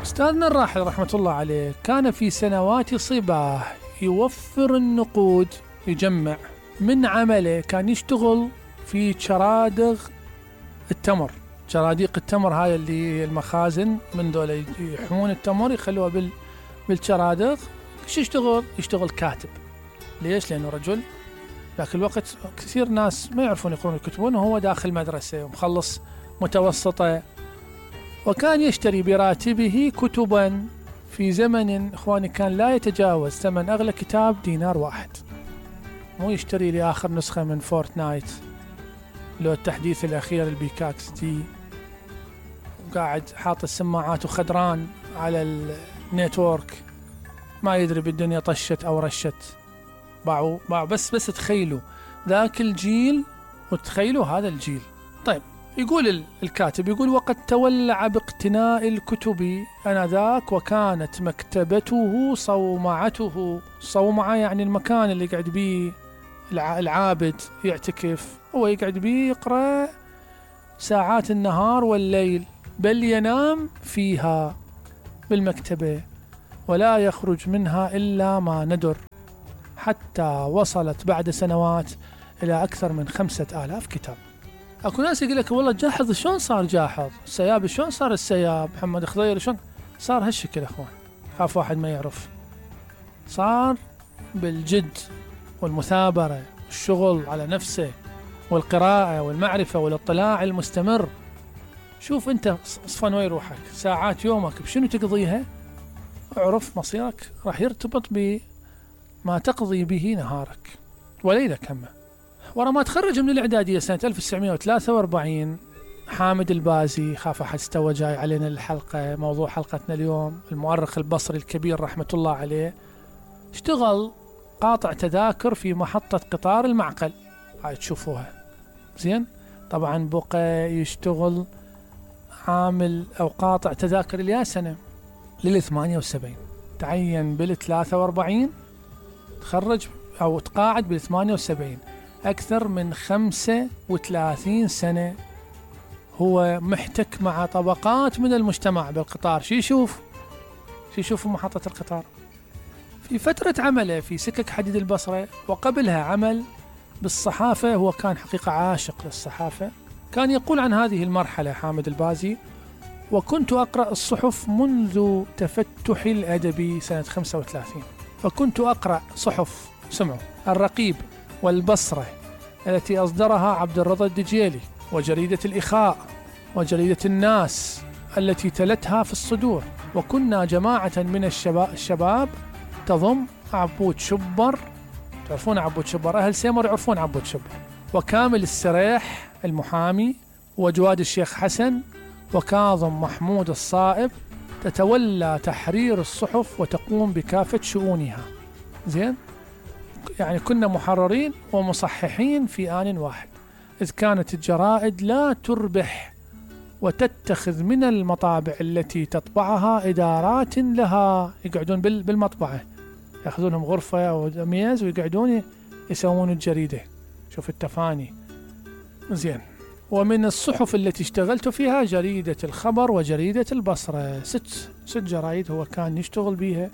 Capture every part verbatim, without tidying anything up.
أستاذنا الراحل رحمة الله عليه كان في سنوات صباه يوفر النقود، يجمع من عمله. كان يشتغل في شرادق التمر، شراديق التمر هاي اللي المخازن من دول يحمون التمر يخلوها بال بالشرادق. ايش يشتغل؟ يشتغل كاتب. ليش؟ لأنه رجل ذاك الوقت كثير ناس ما يعرفون يقرون ويكتبون، وهو داخل مدرسة ومخلص متوسطة، وكان يشتري براتبه كتبا في زمن إخواني كان لا يتجاوز ثمن أغلى كتاب دينار واحد. مو يشتري لي آخر نسخة من فورتنايت لو التحديث الأخير البيكاكس دي، وقاعد حاط السماعات وخدران على النيتورك، ما يدري بالدنيا طشت أو رشت. باعوا باعوا بس بس تخيلوا ذاك الجيل وتخيلوا هذا الجيل. طيب يقول الكاتب، يقول: وقد تولع باقتناء الكتب آنذاك، وكانت مكتبته صومعته. صومعة يعني المكان اللي قاعد بيه العابد يعتكف، هو يقعد بيه يقرأ ساعات النهار والليل، بل ينام فيها بالمكتبة ولا يخرج منها إلا ما ندر، حتى وصلت بعد سنوات إلى أكثر من خمسة آلاف كتاب. أكو ناس يقول لك والله جاحظ شلون صار جاحظ، السياب شلون صار السياب، محمد خضير شلون صار هالشكل. أخوان خاف واحد ما يعرف، صار بالجد والمثابرة والشغل على نفسه والقراءة والمعرفة والاطلاع المستمر. شوف أنت صفن وين روحك، ساعات يومك بشنو تقضيها، اعرف مصيرك راح يرتبط بما تقضي به نهارك وليلك همه. ورا ما تخرج من الإعدادية سنة ألف وتسعمائة وثلاثة وأربعين، حامد البازي، خاف أحد استوى جاي علينا الحلقة، موضوع حلقتنا اليوم، المؤرخ البصري الكبير رحمة الله عليه، اشتغل قاطع تذاكر في محطة قطار المعقل، هاي تشوفوها زين. طبعا بقى يشتغل عامل أو قاطع تذاكر الياسنة للثمانية وسبعين، تعين بالثلاثة وأربعين، تخرج أو تقاعد بالثمانية وسبعين. أكثر من خمسة وثلاثين سنة هو محتك مع طبقات من المجتمع بالقطار. شي يشوف شي يشوف محطة القطار. في فترة عمله في سكك حديد البصرة وقبلها عمل بالصحافة، هو كان حقيقة عاشق للصحافة. كان يقول عن هذه المرحلة حامد البازي: وكنت أقرأ الصحف منذ تفتحي الأدبي سنة خمسة وثلاثين، فكنت أقرأ صحف سمعوا الرقيب والبصرة التي أصدرها عبد الرضا الدجيلي، وجريدة الإخاء، وجريدة الناس التي تلتها في الصدور. وكنا جماعة من الشباب, الشباب تضم عبود شبر، تعرفون عبود شبر، أهل سيمر يعرفون عبود شبر، وكامل السريح المحامي، وجواد الشيخ حسن، وكاظم محمود الصائب، تتولى تحرير الصحف وتقوم بكافة شؤونها. زين، يعني كنا محررين ومصححين في آن واحد، إذ كانت الجرائد لا تربح وتتخذ من المطابع التي تطبعها إدارات لها، يقعدون بالمطبعة يأخذونهم غرفة أو ميز ويقعدون يسوون الجريدة. شوف التفاني. زين، ومن الصحف التي اشتغلت فيها جريدة الخبر وجريدة البصرة، ست ست جرايد هو كان يشتغل بيها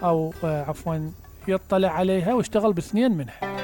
أو عفوا يطلع عليها، واشتغل باثنين منها.